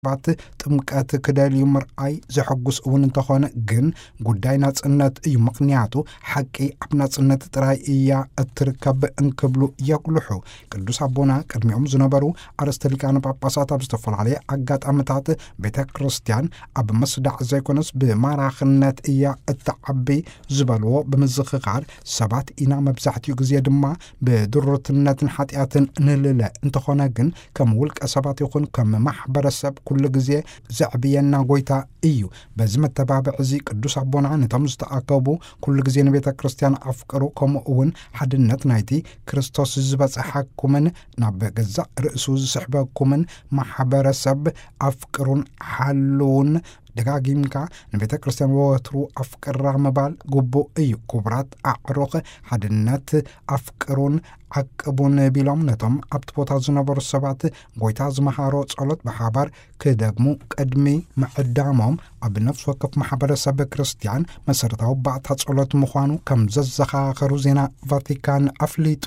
ሰባት ጥምቀት ክደልዩ ምርኣይ ዘሐጉስ እውን እንተኾነ፣ ግን ጉዳይ ናጽነት እዩ። ምኽንያቱ ሓቂ ኣብ ናጽነት ጥራይ እያ እትርከብ እንክብሉ የጉልሑ። ቅዱስ ኣቦና ቅድሚኦም ዝነበሩ ኣርእስተ ሊቃነ ጳጳሳት ኣብ ዝተፈላለየ ኣጋጣሚታት ቤተ ክርስቲያን ኣብ ምስዳዕ ዘይኮነስ ብማራኽነት እያ እትዓቢ ዝበልዎ ብምዝኽኻር፣ ሰባት ኢና መብዛሕትኡ ግዜ ድማ ብድሩትነትን ሓጢኣትን ንልለ። እንተኾነ ግን ከም ውልቀ ሰባት ይኹን ከም ማሕበረሰብ ኩሉ ግዜ ዘዕብየና ጎይታ እዩ። በዚ መተባብዒ እዚ ቅዱስ ኣቦና ነቶም ዝተኣከቡ ኩሉ ግዜ ንቤተ ክርስቲያን ኣፍቅሩ፣ ከምኡ እውን ሓድነት ናይቲ ክርስቶስ ዝበጽሓኩምን ናብ ገዛእ ርእሱ ዝስሕበኩምን ማሕበረሰብ ኣፍቅሩን ሓልውን። ደጋጊምካ ንቤተ ክርስቲያን ወትሩ ኣፍቅራ ምባል ግቡእ እዩ። ክቡራት ኣዕሩኽ፣ ሓድነት ኣፍቅሩን ዓቅቡን ቢሎም ነቶም ኣብቲ ቦታ ዝነበሩ ሰባት ጎይታ ዝመሃሮ ጸሎት ብሓባር ክደግሙ ቅድሚ ምዕዳሞም፣ ኣብ ነፍሲ ወከፍ ማሕበረሰብ ክርስቲያን መሰረታዊ ባእታ ጸሎት ምዃኑ ከም ዘዘኻኸሩ ዜና ቫቲካን ኣፍሊጡ።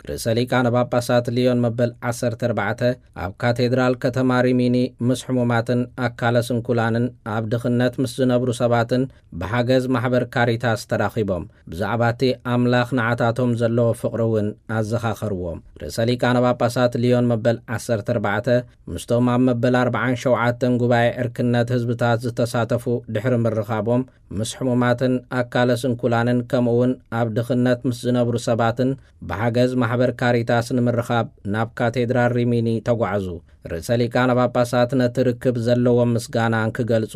ርእሰ ሊቃነ ጳጳሳት ሊዮን መበል ዓሰርተ ኣርባዕተ ኣብ ካቴድራል ከተማ ሪሚኒ ምስ ሕሙማትን ኣካለ ስንኩላንን ኣብ ድኽነት ምስ ዝነብሩ ሰባትን ብሓገዝ ማሕበር ካሪታስ ተራኺቦም፣ ብዛዕባ እቲ ኣምላኽ ንዓታቶም ዘለዎ ፍቕሪ እውን ኣዘኻኸርዎም። ርእሰ ሊቃነ ጳጳሳት ሊዮን መበል ዓሰርተ ኣርባዕተ ምስቶም ኣብ መበል ኣርባዓን ሸውዓተን ጉባኤ ዕርክነት ህዝብታት ዝተሳተፉ ድሕሪ ምርኻቦም፣ ምስ ሕሙማትን ኣካለ ስንኩላንን ከምኡ እውን ኣብ ድኽነት ምስ ዝነብሩ ሰባትን ብሓገዝ ማሕበር ካሪታስ ንምርኻብ ናብ ካቴድራል ሪሚኒ ተጓዕዙ። ርእሰ ሊቃነ ጳጳሳት ነቲ ርክብ ዘለዎም ምስጋና እንክገልጹ፣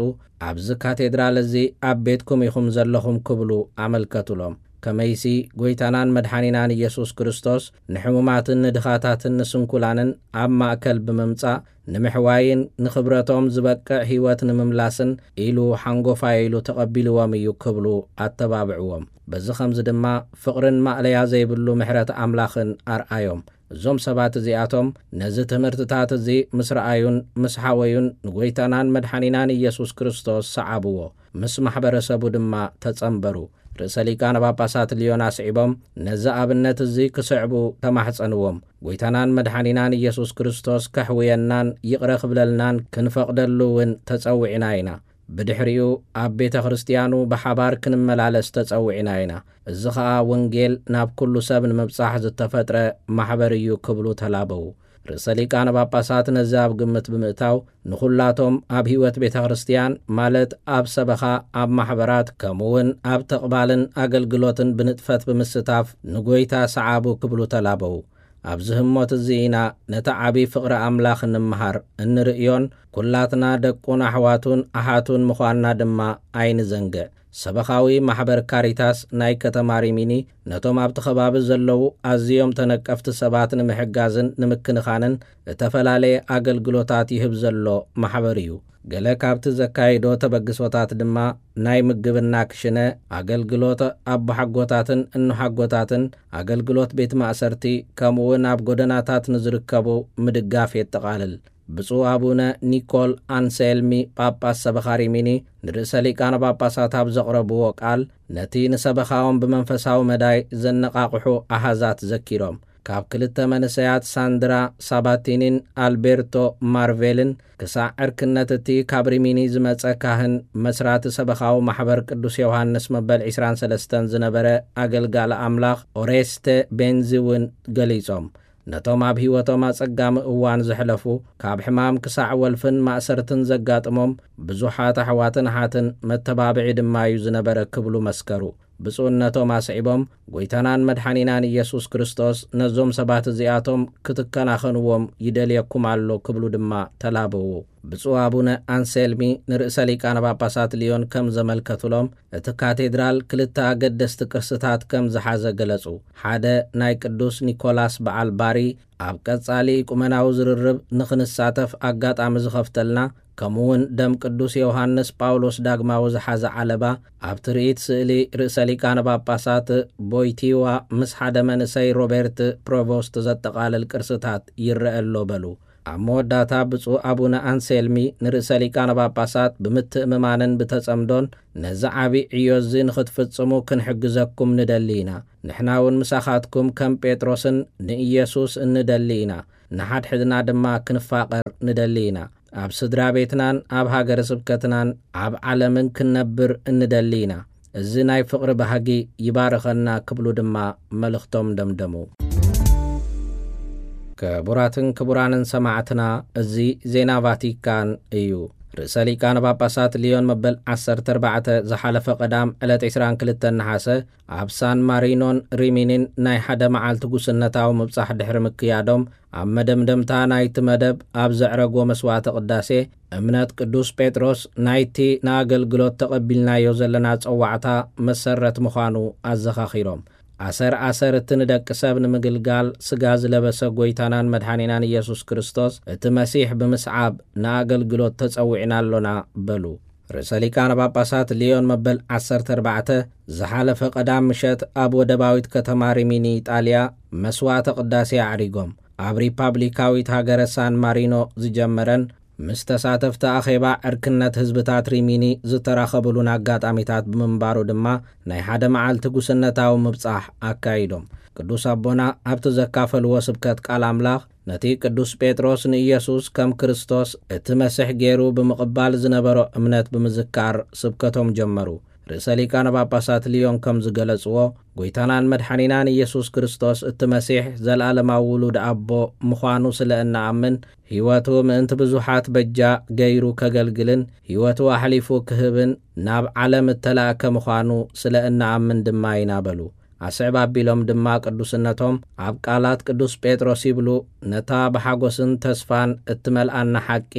ኣብዚ ካቴድራል እዚ ኣብ ቤትኩም ኢኹም ዘለኹም ክብሉ ኣመልከቱሎም። ከመይሲ ጎይታናን መድሓኒናን ኢየሱስ ክርስቶስ ንሕሙማትን ንድኻታትን ንስንኩላንን ኣብ ማእከል ብምምጻእ ንምሕዋይን ንኽብረቶም ዝበቅዕ ህይወት ንምምላስን ኢሉ ሓንጎፋይ ኢሉ ተቐቢልዎም እዩ ክብሉ ኣተባብዕዎም። በዚ ኸምዚ ድማ ፍቕርን ማእለያ ዘይብሉ ምሕረት ኣምላኽን ኣርኣዮም። እዞም ሰባት እዚኣቶም ነዚ ትምህርትታት እዚ ምስ ረኣዩን ምስ ሓወዩን ንጎይታናን መድሓኒናን ኢየሱስ ክርስቶስ ሰዓብዎ፣ ምስ ማሕበረሰቡ ድማ ተጸንበሩ። ርእሰ ሊቃነ ጳጳሳት ልዮን ኣስዒቦም ነዚ ኣብነት እዚ ክስዕቡ ተማሕጸንዎም። ጎይታናን መድሓኒናን ኢየሱስ ክርስቶስ ከሕውየናን ይቕረ ክብለልናን ክንፈቕደሉ እውን ተጸዊዕና ኢና። ብድሕሪኡ ኣብ ቤተ ክርስቲያኑ ብሓባር ክንመላለስ ተጸዊዕና ኢና። እዚ ኸኣ ወንጌል ናብ ኩሉ ሰብ ንምብጻሕ ዝተፈጥረ ማሕበር እዩ ክብሉ ተላበዉ። ርእሰ ሊቃነ ጳጳሳት ነዚ ኣብ ግምት ብምእታው፣ ንኹላቶም ኣብ ህይወት ቤተ ክርስቲያን፣ ማለት ኣብ ሰበኻ፣ ኣብ ማሕበራት፣ ከምኡ እውን ኣብ ተቕባልን ኣገልግሎትን ብንጥፈት ብምስታፍ ንጎይታ ሰዓቡ ክብሉ ተላበዉ። ኣብዚ ህሞት እዚ ኢና ነቲ ዓቢ ፍቕሪ ኣምላኽ እንምሃር፣ እንርእዮን ኩላትና ደቁን ኣሕዋቱን ኣሓቱን ምዃንና ድማ ኣይንዘንግዕ። ሰበኻዊ ማሕበር ካሪታስ ናይ ከተማ ሪሚኒ ነቶም ኣብቲ ከባቢ ዘለዉ ኣዝዮም ተነቀፍቲ ሰባት ንምሕጋዝን ንምክንኻንን እተፈላለየ ኣገልግሎታት ይህብ ዘሎ ማሕበር እዩ። ገለ ካብቲ ዘካይዶ ተበግሶታት ድማ ናይ ምግብና ክሽነ፣ ኣገልግሎት ኣቦሓጎታትን እኖሓጎታትን፣ ኣገልግሎት ቤት ማእሰርቲ፣ ከምኡውን ኣብ ጎደናታት ንዝርከቡ ምድጋፍ የጠቓልል። ብፁዕ ኣቡነ ኒኮል ኣንሴልሚ፣ ጳጳስ ሰበኻ ሪሚኒ፣ ንርእሰ ሊቃነ ጳጳሳት ኣብ ዘቕረብዎ ቃል፣ ነቲ ንሰበኻኦም ብመንፈሳዊ መዳይ ዘነቓቕሑ ኣሃዛት ዘኪሮም፣ ካብ ክልተ መንእሰያት ሳንድራ ሳባቲኒን ኣልቤርቶ ማርቬልን ክሳዕ ዕርክነት እቲ ካብ ሪሚኒ ዝመጸ ካህን መስራቲ ሰበኻዊ ማሕበር ቅዱስ ዮሃንስ መበል ዕስራን ሰለስተን ዝነበረ ኣገልጋሊ ኣምላኽ ኦሬስተ ቤንዚ እውን ገሊጾም። ነቶም ኣብ ህይወቶም ኣጸጋሚ እዋን ዘሕለፉ፣ ካብ ሕማም ክሳዕ ወልፍን ማእሰርትን ዘጋጥሞም ብዙሓት ኣሕዋትን ኣሓትን መተባብዒ ድማ እዩ ዝነበረ ክብሉ መስከሩ። ብፁዕነቶም ኣስዒቦም፣ ጎይታናን መድሓኒናን ኢየሱስ ክርስቶስ ነዞም ሰባት እዚኣቶም ክትከናኸንዎም ይደልየኩም ኣሎ ክብሉ ድማ ተላበዉ። ብፁዕ ኣቡነ ኣንሴልሚ ንርእሰ ሊቃነ ጳጳሳት ልዮን ከም ዘመልከቱሎም፣ እቲ ካቴድራል ክልተ ኣገደስቲ ቅርስታት ከም ዝሓዘ ገለጹ። ሓደ ናይ ቅዱስ ኒኮላስ በዓል ባሪ ኣብ ቀጻሊ ኢቁመናዊ ዝርርብ ንኽንሳተፍ ኣጋጣሚ ዝኸፍተልና፣ ከምኡውን ደም ቅዱስ ዮሃንስ ጳውሎስ ዳግማዊ ዝሓዘ ዓለባ፣ ኣብ ትርኢት ስእሊ ርእሰ ሊቃነ ጳጳሳት ቦይቲዋ ምስ ሓደ መንእሰይ ሮቤርት ፕሮቮስት ዘጠቓልል ቅርስታት ይረአ ኣሎ በሉ። ኣብ መወዳእታ ብፁዕ ኣቡነ ኣንሴልሚ ንርእሰ ሊቃነ ጳጳሳት ብምትእምማንን ብተጸምዶን፣ ነዚ ዓቢ ዕዮ እዚ ንኽትፍጽሙ ክንሕግዘኩም ንደሊ ኢና። ንሕና እውን ምሳኻትኩም ከም ጴጥሮስን ንኢየሱስ እንደሊ ኢና። ንሓድሕድና ድማ ክንፋቐር ንደሊ ኢና። ኣብ ስድራ ቤትናን ኣብ ሃገረ ስብከትናን ኣብ ዓለምን ክንነብር እንደሊ ኢና። እዚ ናይ ፍቕሪ ባህጊ ይባርኸና ክብሉ ድማ መልእኽቶም ደምደሙ። ክቡራትን ክቡራንን ሰማዕትና፣ እዚ ዜና ቫቲካን እዩ። ርእሰ ሊቃነ ጳጳሳት ሊዮን መበል ዓሰርተ ኣርባዕተ ዝሓለፈ ቀዳም ዕለት ዕስራን ክልተን ነሓሰ ኣብ ሳን ማሪኖን ሪሚኒን ናይ ሓደ መዓልቲ ጉስነታዊ ምብጻሕ ድሕሪ ምክያዶም፣ ኣብ መደምደምታ ናይቲ መደብ ኣብ ዘዕረጎ መስዋዕተ ቅዳሴ፣ እምነት ቅዱስ ጴጥሮስ ናይቲ ንኣገልግሎት ተቐቢልናዮ ዘለና ጸዋዕታ መሰረት ምዃኑ ኣዘኻኺሮም፣ ኣሰር ኣሰር እቲ ንደቂ ሰብ ንምግልጋል ስጋ ዝለበሰ ጎይታናን መድሓኒናን ኢየሱስ ክርስቶስ እቲ መሲሕ ብምስዓብ ንኣገልግሎት ተጸዊዕና ኣሎና በሉ። ርእሰ ሊቃነ ጳጳሳት ሊዮን መበል ዓሰርተ ኣርባዕተ ዝሓለፈ ቀዳም ምሸት ኣብ ወደባዊት ከተማ ሪሚኒ ኢጣልያ መስዋዕተ ቅዳሴ ኣዕሪጎም፣ ኣብ ሪፓብሊካዊት ሃገረ ሳን ማሪኖ ዝጀመረን ምስ ተሳተፍቲ ኣኼባ ዕርክነት ህዝብታት ሪሚኒ ዝተራኸብሉን ኣጋጣሚታት ብምንባሩ ድማ ናይ ሓደ መዓልቲ ጉስነታዊ ምብጻሕ ኣካይዶም። ቅዱስ ኣቦና ኣብቲ ዘካፈልዎ ስብከት ቃል ኣምላኽ ነቲ ቅዱስ ጴጥሮስ ንኢየሱስ ከም ክርስቶስ እቲ መሲሕ ገይሩ ብምቕባል ዝነበሮ እምነት ብምዝካር ስብከቶም ጀመሩ። ርእሰ ሊቃነ ጳጳሳት ሊዮን ከም ዝገለጽዎ፣ ጎይታናን መድሓኒናን ኢየሱስ ክርስቶስ እቲ መሲሕ ዘለኣለማዊ ውሉድ ኣቦ ምዃኑ ስለ እንኣምን፣ ህይወቱ ምእንቲ ብዙሓት በጃ ገይሩ ከገልግልን ህይወቱ ኣሕሊፉ ክህብን ናብ ዓለም እተላእከ ምዃኑ ስለ እንኣምን ድማ ኢና በሉ። ኣስዕብ ኣቢሎም ድማ ቅዱስነቶም ኣብ ቃላት ቅዱስ ጴጥሮስ ይብሉ፣ ነታ ብሓጎስን ተስፋን እትመልኣና ሓቂ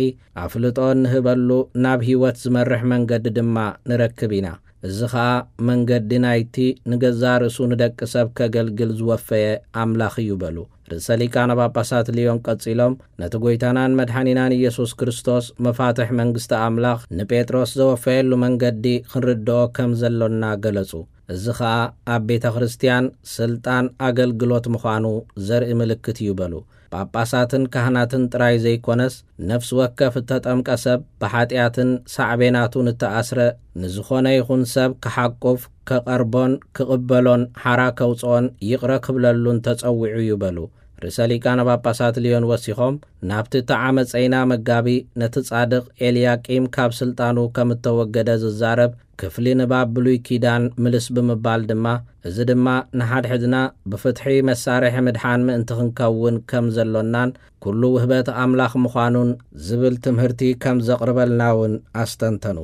ኣፍልጦ እንህበሉ ናብ ህይወት ዝመርሕ መንገዲ ድማ ንረክብ ኢና። እዚ ኸኣ መንገዲ ናይቲ ንገዛእ ርእሱ ንደቂ ሰብ ከገልግል ዝወፈየ ኣምላኽ እዩ በሉ። ርእሰ ሊቃነ ጳጳሳት ሊዮን ቀጺሎም፣ ነቲ ጐይታናን መድሓኒናን ኢየሱስ ክርስቶስ መፋትሕ መንግስቲ ኣምላኽ ንጴጥሮስ ዘወፈየሉ መንገዲ ክንርድኦ ከም ዘሎና ገለጹ። እዚ ኸኣ ኣብ ቤተ ክርስትያን ስልጣን ኣገልግሎት ምዃኑ ዘርኢ ምልክት እዩ በሉ። ጳጳሳትን ካህናትን ጥራይ ዘይኮነስ፣ ነፍሲ ወከፍ እተጠምቀ ሰብ ብሓጢኣትን ሳዕቤናቱን እተኣስረ ንዝኾነ ይኹን ሰብ ክሓቁፍ፣ ከቐርቦን ክቕበሎን ሓራ ከውጽኦን ይቕረ ክብለሉን ተጸዊዑ እዩ በሉ። ርእሰ ሊቃነ ጳጳሳት ሊዮን ወሲኾም፣ ናብቲ ተዓመጸይና መጋቢ ነቲ ጻድቕ ኤልያቂም ካብ ስልጣኑ ከም እተወገደ ዝዛረብ ክፍሊ ንባብ ብሉይ ኪዳን ምልስ ብምባል ድማ፣ እዚ ድማ ንሓድሕድና ብፍትሒ መሳርሒ ምድሓን ምእንቲ ክንከውን ከም ዘሎናን ኩሉ ውህበት ኣምላኽ ምዃኑን ዝብል ትምህርቲ ከም ዘቕርበልና እውን ኣስተንተኑ።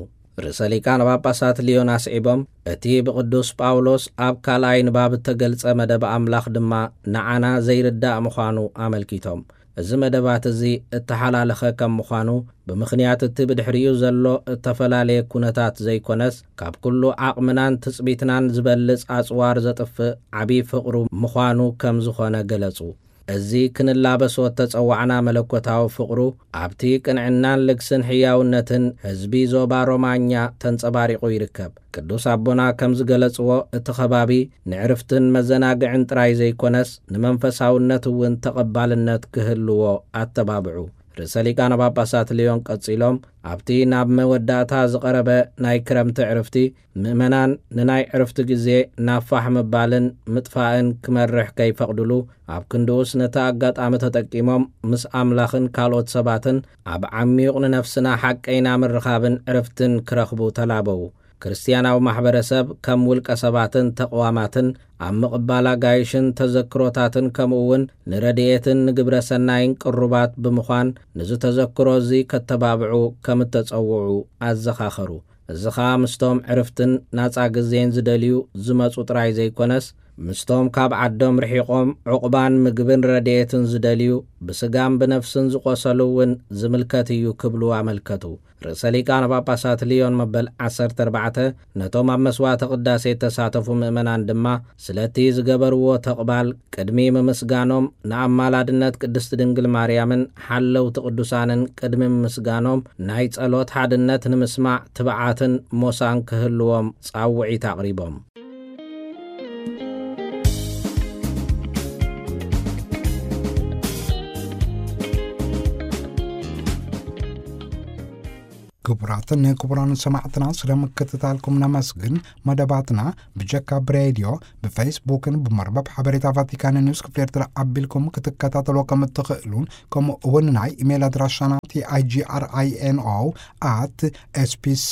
ርእሰ ሊቃነ ጳጳሳት ሊዮን ኣስዒቦም፣ እቲ ብቅዱስ ጳውሎስ ኣብ ካልኣይ ንባብ እተገልጸ መደብ ኣምላኽ ድማ ንዓና ዘይርዳእ ምዃኑ ኣመልኪቶም፣ እዚ መደባት እዚ እተሓላለኸ ከም ምዃኑ፣ ብምኽንያት እቲ ብድሕሪኡ ዘሎ እተፈላለየ ኩነታት ዘይኮነስ፣ ካብ ኩሉ ዓቕምናን ትጽቢትናን ዝበልጽ ኣጽዋር ዘጥፍእ ዓቢ ፍቕሩ ምዃኑ ከም ዝኾነ ገለጹ። እዚ ክንላበሶ እተጸዋዕና መለኮታዊ ፍቕሩ፣ ኣብቲ ቅንዕናን ልግስን ሕያውነትን ህዝቢ ዞባ ሮማኛ ተንጸባሪቑ ይርከብ። ቅዱስ ኣቦና ከም ዝገለጽዎ፣ እቲ ከባቢ ንዕርፍትን መዘናግዕን ጥራይ ዘይኮነስ፣ ንመንፈሳውነት እውን ተቐባልነት ክህልዎ ኣተባብዑ። ርእሰ ሊቃነ ጳጳሳት ሊዮን ቀጺሎም፣ ኣብቲ ናብ መወዳእታ ዝቐረበ ናይ ክረምቲ ዕርፍቲ፣ ምእመናን ንናይ ዕርፍቲ ግዜ ናብ ፋሕ ምባልን ምጥፋእን ክመርሕ ከይፈቕድሉ፣ ኣብ ክንድኡስ ነቲ ኣጋጣሚ ተጠቂሞም ምስ ኣምላኽን ካልኦት ሰባትን ኣብ ዓሚዩቕ ንነፍስና ሓቀይና ምርኻብን ዕርፍትን ክረኽቡ ተላበዉ። ክርስትያናዊ ማሕበረሰብ ከም ውልቀ ሰባትን ተቕዋማትን ኣብ ምቕባል ኣጋይሽን ተዘክሮታትን፣ ከምኡ እውን ንረድኤትን ንግብረ ሰናይን ቅሩባት ብምዃን፣ ንዚ ተዘክሮ እዚ ከተባብዑ ከም እተጸውዑ ኣዘኻኸሩ። እዚ ኸኣ ምስቶም ዕርፍትን ናጻ ግዜን ዝደልዩ ዝመጹ ጥራይ ዘይኮነስ፣ ምስቶም ካብ ዓዶም ርሒቖም ዑቕባን ምግብን ረድኤትን ዝደልዩ፣ ብስጋን ብነፍስን ዝቖሰሉ እውን ዝምልከት እዩ ክብሉ ኣመልከቱ። ርእሰ ሊቃነ ጳጳሳት ሊዮን መበል ዓሰርተ ኣርባዕተ ነቶም ኣብ መስዋዕተ ቅዳሴ እተሳተፉ ምእመናን ድማ፣ ስለቲ ዝገበርዎ ተቕባል ቅድሚ ምምስጋኖም፣ ንኣማላድነት ቅድስቲ ድንግል ማርያምን ሓለውቲ ቅዱሳንን ቅድሚ ምምስጋኖም፣ ናይ ጸሎት ሓድነት ንምስማዕ ትብዓትን ሞሳን ክህልዎም ጻውዒት ኣቕሪቦም። ክቡራትን ክቡራን ሰማዕትና፣ ስለ ምክትታልኩም ነመስግን። መደባትና ብጀካ ብሬድዮ፣ ብፌስቡክን ብመርበብ ሓበሬታ ቫቲካን ኒውስ ክፍሊ ኤርትራ ኣቢልኩም ክትከታተልዎ ከም እትኽእሉን፣ ከምኡ እውን ናይ ኢሜይል ኣድራሻና ቲ ኣይ ጂ ኣር ኣይ ኤን ኦ ኣት ኤስ ቢ ሲ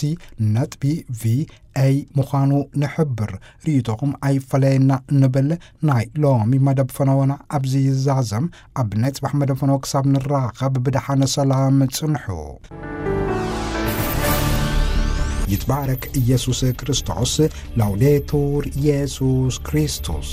ነጥቢ ቪ ኤ ምዃኑ ንሕብር። ርእይቶኹም ኣይፈለየና ንብል። ናይ ሎሚ መደብ ፈነወና ኣብዚ ይዛዘም። ኣብ ናይ ጽባሕ መደብ ፈነወ ክሳብ ንራኸብ ብደሓነ ሰላም ጽንሑ። ይትባረክ ኢየሱስ ክርስቶስ። ላውዴቱር ኢየሱስ ክርስቶስ።